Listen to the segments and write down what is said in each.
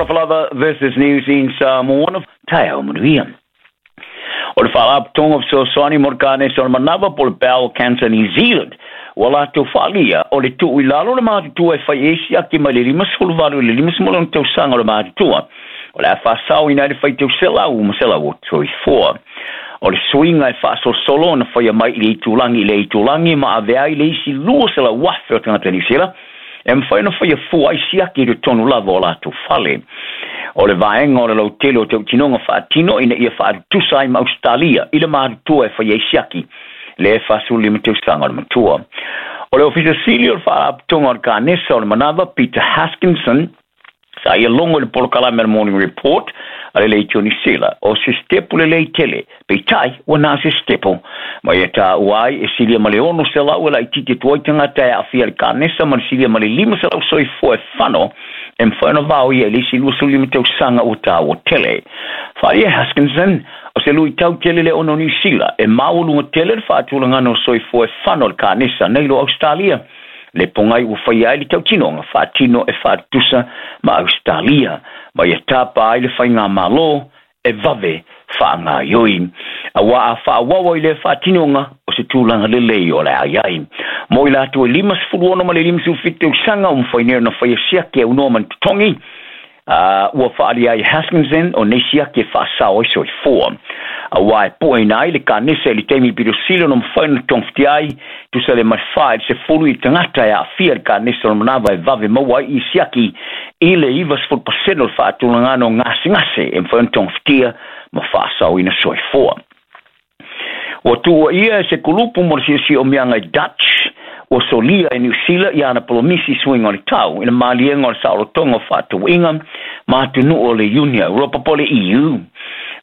Talofa lava, this is News in Samoan. Taeao manuia. O le Faalapotopotoga o Fesoasoani mo le Kanesa o le Manava po o le Bowel Cancer New Zealand ua latou faaalia o le tuu i lalo o le matutua e fai ai siaki mai le 58 i le 56 tausaga o le matutua o le a faasaoina ai le faitau 100 ma 100 o soifua. O le suiga e faasolosolo ona faia mai i le itulagi i le itulagi ma avea ai le isi 200,000 o tagata Niu Sila e mafai ona faia fua ai siaki i totonu lava o latou fale. O le vaega o le lautele o tautinoga faatino ina ia faatutusa ai ma Ausetalia i le matutua e faia ai siaki le 45 tausaga o le matua. O le Ofisa Sili o le Faalapotopotoga o le Kanesa o le Manava, Peter Hoskinson, sa ia logo i le polokalame a le Morning Report a le Leitio Niu Sila, o se sitepu lelei tele, peitai ua na o se sitepu. Ma ia taua ai e silia ma le 600 e laitiiti atu ai tagata e aafia i le kanesa ma le silia ma le 500 soifua e fano e mafai ona vaoia i le isi 25 tausaga ua taua tele. Faaalia e Huskinson, o se luitau tele le ona o Niu Sila e maualuga tele le faatulagana o soifua e fano i le kanesa nei lo Ausetalia. Le pogai ua faia ai le tautinoga faatino e faatutusa ma Ausetalia, ma ia tapa ai le faigamalo e vave faagaoioi. Aua a faaauau ai lea faatinoga, o se tulaga lelei o le a i ai. Mo i latou e 56 ma le 57 tausaga ua mafai nei ona faia siaki e aunoa ma ni totogi, ua faaalia ai e Huskinson o nei siaki e faasao ai soifua. Aua e pueina ai le kanesa i le taimi pito sili ona mafai ona togafitia ai, tusa le ma le 4 i le 10 i tagata e aafia i le kanesa o le manava e vave maua ai i siaki i le 90% o le faatulagana o gasegase e mafai ona togafitia ma faasaoina soifua. Ua tuuaia e se kulupu mo le siosiomiaga i Dutch, ua solia e Niu Sila i ana polomisi suiga o le tau i le maliega o le saolotoga o faatauaiga ma atunuu o le Iuni a Europa po o le EU.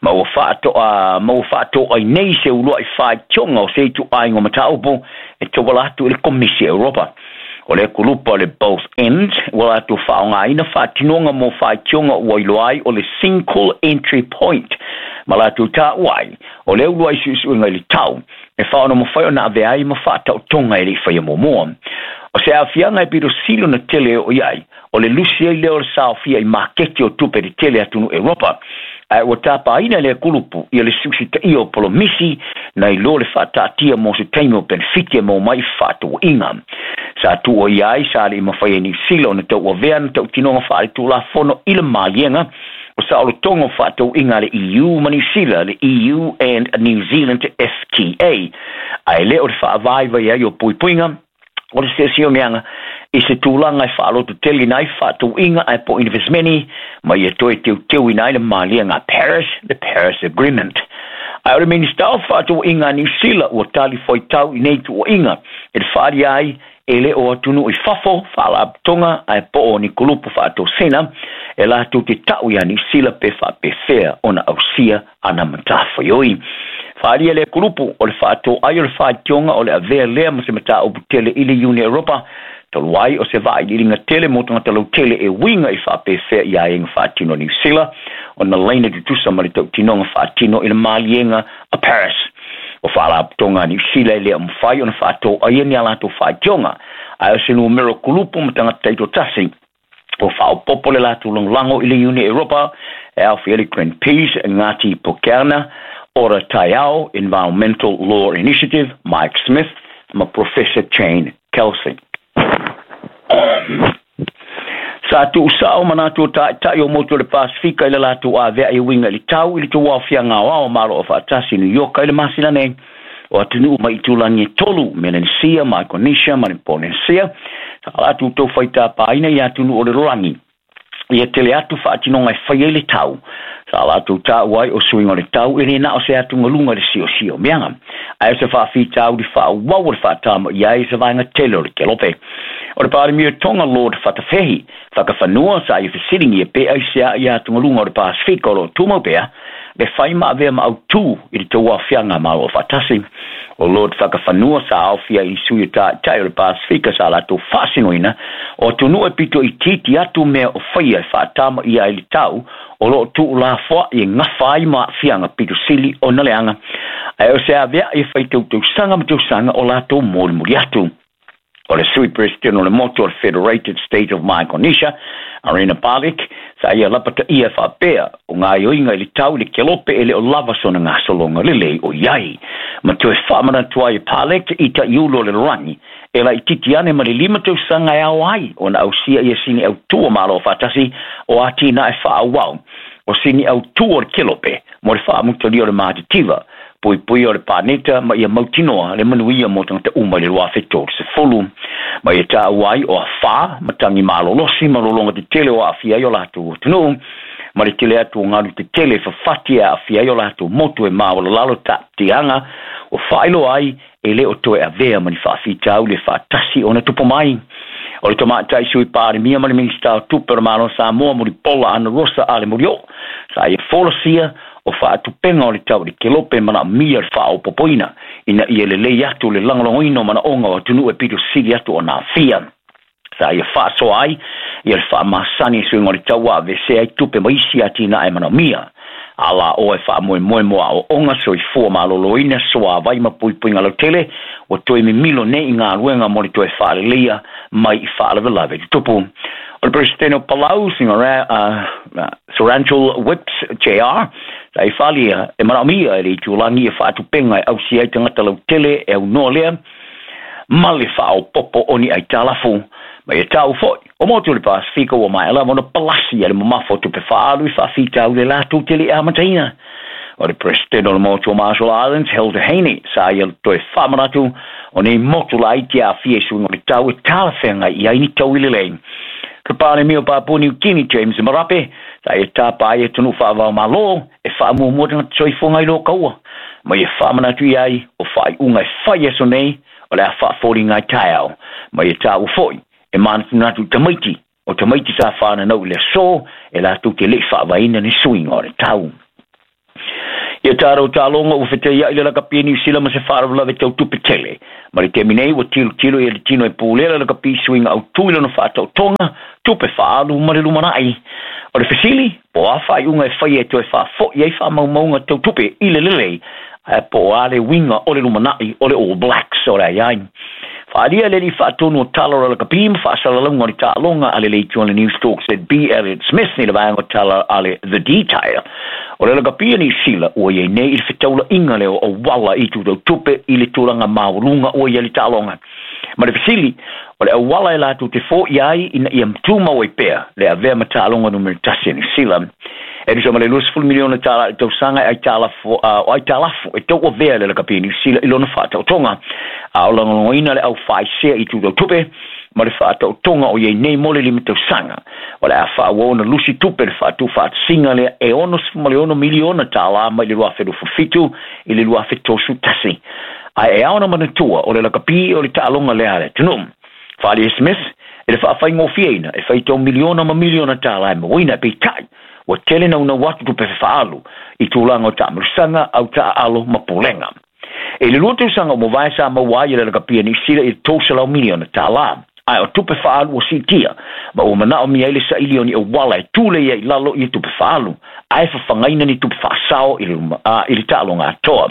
Ma ua faatoa ma ua faatoai nei se uluai faitioga o se ituaiga o mataupu e tauala atu i le Komisi a Europa. O le kulupa o le Both Ends ua latou faaaogaina faatinoga mo faitioga ua iloa ai o le Single Entry Point ma latou taua ai o le uluai suesuega i le tau e faaonomafai ona avea ai ma faataotoga e le i faia muamua. O se aafiaga e pito sili ona tele e oo i ai, o le lusi ai lea o le saofia i maketi o tupe tetele atunuu Europa, ae ua tapaina e lea kulupu ia le siusitaia o polomisi nai lo le faataatia mo se taimi o penefiti e maua mai i fefaatauaiga. Sa tuuaia ai sa le i mafai e Niu Sila ona tauavea na tautinoga faaletulafono i le maliega o saolotoga o faatauaiga a le EU ma Niu Sila, le EU and New Zealand FTA, ae le o le faavaivai ai o puipuiga o le siosiomiaga i se tulaga e faalototeleina ai fefaatauaiga ae po o inivesimeni ma ia toe teuteuina ai le maliega a Paris, le Paris Agreement. Ae o le Minisita o Fefaatauaiga a Niu Sila ua tali fuaitau i nei tuuaiga e le faaalia ai e le o atunuu i fafo, faalapotopotoga ae po o ni kulupu faatosina e latou te ta'u iā Niu Sila pe faapefea ona ausia ana matafaioi. Faaalia lea kulupu o le faatoai o le faitioga o le avea lea ma se mataupu tele i le Iuni Europa, talu ai o se vailiiliga tele mo tagata lautele e uiga i faapefea i aiaiga faatino a Niu Sila ona laina tutusa ma le tautinoga faatino i le maliega a Paris. O faalapotopotoga a Niu Sila e le o mafai ona faatoaia ni a latou faitioga, ae o se numera kulupu ma tagata taitoatasi ua faaopoopo le latou lagolago i le Iuni Europa e aofia ai le Greenpeace, Ngāti Pōkeana, Ora Taiao, Environmental Law Initiative, Mike Smith ma Professor Jane Kelsey. Sa tuusao manatu o taitai o motu o le Pasifika i le latou ave'a e uiga i le tau i le tauaofiaga aoao Malo Aufaatasi i New York i le masina nei. O atunuu mai itulagi e tolu, Melanesia, Micronesia ma le Polynesia, sa latou tou faitapaina i atunuu o le lalolagi ia tele atu faatinoga e fai ai le tau. Sa latou taua ai o suiga o le tau e le na o se atugaluga i le siosiomiaga, ae o se faafitauli faaauau o le faatamaia ai se vaega tele o le kelope. O le Palemia Tonga Lord Fatafehi, Fakafanua, sa ia fesiligia pe aisea i atugaluga o le Pasifika o lo o tumau pea le fai ma avea ma autū i le tauaofiaga a Malo Aufaatasi. O Lord Fakafanua sa aofia i sui o taitai o le Pasifika sa latou faasinoina o atunuu e pito itiiti atu mea o faia e faatamaia ai le tau o lo o tuulafoa'i e gafa ai ma aafiaga pito sili ona leaga, ae o se avea'i e fai tautausaga ma tausaga o latou molimoli atu. O le Sui Peresetene o le Motu o le Federated State of Micronesia, Arina Balik, Sa ia lapataia e faapea, o gaoioiga i le tau i le kelope e le o lava sona gasologa lelei o i ai. Ma toe faamanatu ai e Palek i taʻiulu o le lalolagi, e laitiiti ane ma le 5 tausaga e ao ai ona ausia ia sini autū o Malo Faatasi o atinae faaauau o sini autū o le kelope mo le faamutalia o le matitiva, puipuia o le paneta ma ia mautinoa le manuia mo tagata uma i le 2030. Ma ia taua ai o afā, matagi malolosi ma lologa tetele o aafia ai o latou atunuu, ma le tele atu o galu tetele e fafati e aafia ai o latou motu e maualalalo taatiaga o faailoa ai e le o toe avea ma ni faafitauli e faatasi ona tupu mai. O le tamaitai Sui Palemia ma le Minisita o Tupe o le Malo o Samoa Mulipola Ana Rosa Ale Murioo, sa ia folasia o faatupega o le tau i le kelope manaomia le faaopoopoina ina ia lelei atu le lagolagoina o manaoga o atunuu e pito sili atu ona aafia. Sa ia faasoa ai ia le faamasani i suiga o le tau ua aveesea ai tupe ma isi atinae manaomia. A la oe faamoemoe mo aoaoga soifua maloloina suāvai ma puipuiga lautele ua toe mimilo nei i galuega mo le toe faaleleia mai i faalavelave tutupu. O le Peresetene o Palau, Surangel Whipps JR, sa i faaalia e manaomia e le itulagi ia faatupega e ausia ai tagata lautele e aunoa lea ma le faaopoopo o ni aitalafu. Ma ia taua foi, o motu o le Pasefika ua maea lava ona palasi a le mamafa o tupe faaalu i faafitauli e latou te le i amataina. O le Peresetene o le motu o Marshall Islands, Hilda Heine, sa ia toe faamanatu o nei motu laiti e aafia i suiga o le tau e talafeagai i ai ni taui lelei. Ka Palemia o Papua New Guinea, James Marape, sa ia tapa ai atunuu faava-o-Malo e faamuamua tagata soifuaga i lo kaua, ma ia faamanatu i ai o faaiuga e fai i aso nei o le a faafoliga ai taeao. Ma ia taua foi e manatunatu i tamaiti o tamaiti sa fananau i le aso e latou te le i faavaeina ni suiga o le tau. Ia tatou taaloga ua fetaiai le lakapi e Niu Sila ma se faalavelave tau tupe tele. Ma le taimi nei ua tilotilo ia le tino e pulea le lakapi i suiga autū i lona faataotoga, tupe faaalu ma le lumanai. O le fesili, po o a faaiuga e faia e toe faafoi ai faamaumauga tau tupe i le lelei, ae po o a le uiga o le lumanai o le All Blacks o le ai ai. Faaalia le alii faatonu o tala o le lakapi ma faasalalauga o le taaloga a le leitioa le News Talk ZB Elliot Smith i le vaega o tala a le The Detail. O le lakapi a Niu Sila ua i ai nei i le fetaulaiga lea o auala i itu tau tupe i le tulaga maualuga ua i ai le taaloga. Ma le fesili, o le auala e latou te foia ai ina ia tumau ai pea le avea ma taaloga numera 1 a Niu Sila. E tusa ma le $20 miliona i le tausaga e aitalafu, o aitalafu e tauavea le lakapi a Niu Sila i lona faataotoga, a o lagolagoina le au faaisea i itu tau tupe ma le faataotoga o i ai nei mo le 5 tausaga. O le a faaauau ona lusi tupe le faatuufaatasiga lea e $66 miliona mai le 2027 i le 2031. Ae e ao ona manatua o le lakapi o le taaloga lea a le atunuu. Faaalia Smith e le faafaigofieina e faitau miliona ma miliona tālā e mauaina, peitai ua tele naunau atu tupe fefaalu i tulaga o taamilosaga, au taaalo ma pulega. E le 2 tausaga o mavae sa maua ai e le lakapi a Niu Sila i le $300 miliona, ae o tupe faaalu ua siitia ma ua manaomia ai le saili o ni auala e tulei ai i lalo ia tupe faaalu ae fafagaina ni tupe faasao i le taaloga atoa.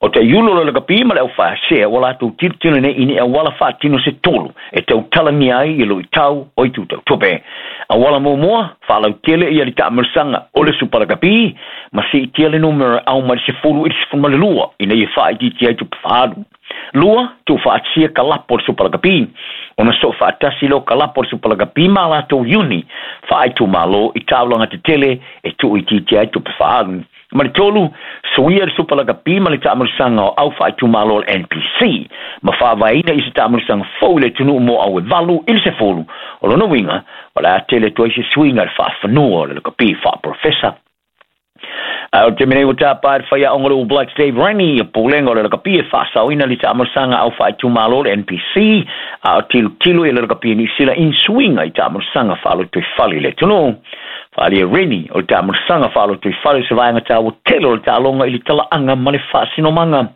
O taiulu o le lakapi ma le aufaasea ua latou tilotilo nei i ni auala faatino se tolu e tautalagia ai i luitau o itu tau tupe. Auala muamua, faalautele ia le taamilosaga o le Supa Lakapi ma siitia le numera au mai le 10 i le 12 ina ia faaitiitia ai tupe faaalu. Lua, tuufaatasia kalapo o le Supa Lakapi ona soo faatasi lea o kalapo o le Supa Lakapi ma latou iuni faaitumalo i taulaga tetele e tuuitiitia ai tupe faaalu. Ma le tolu, suia le Supa Lakapi ma le taamilosaga o au faaitumalo o le NPC ma faavaeina i se taamilosaga fou i le atunuu mo au e 8 i le 10. O lona uiga, o le a tele atu ai se suiga i le faafanua o le lakapi faaprofesa. Ae o le taimi nei ua tapa e le faiaoga o le All Blacks Dave Rennie ia pulega o le lakapi e faasaoina le taamilosaga au faaitumalo o le NPC, a o tilotilo ia le lakapi a Niu Sila i ni suiga i taamilosaga faalotoifale i le atunuu. Faaalia Rennie o le taamilosaga faalotoifale o se vaega taua tele o le taaloga i le talaaga ma le faasinomaga.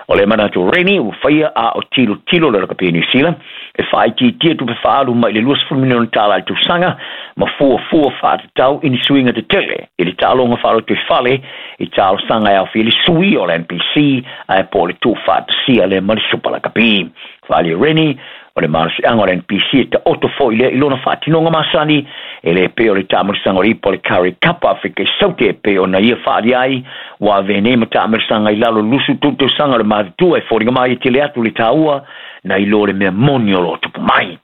O le manatu Rennie ua faia a o tilotilo le lakapi a Niu Sila e faaitiitia tupe faaalu mai le $20 miliona i le tausaga ma fuafua faatatau i ni suiga tetele i le taaloga faalotoifale i talosaga e aofia le suia o le NPC ae po o le tuufaatasia lea ma le Supa Lakapi. Faaalia Rennie o le malosiaga o le NPC e taoto foi lea i lona faatinoga masani e E le pei o le taamilosaga o le ipa o le Currie Cup a Afrika i Saute e pei ona ia faaalia ai, ua avea nei ma taamilosaga i lalo o le 23 tausaga o le matutua e foliga mai e tele atu le taua nai lo le mea moni o lo o tupu mai.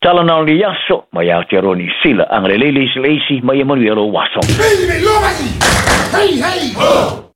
Tala na o le aso, mai Aotearoa Niu Sila, agalelei le isi i le isi, ma ia manuia lou aso. Hey, hey, ho!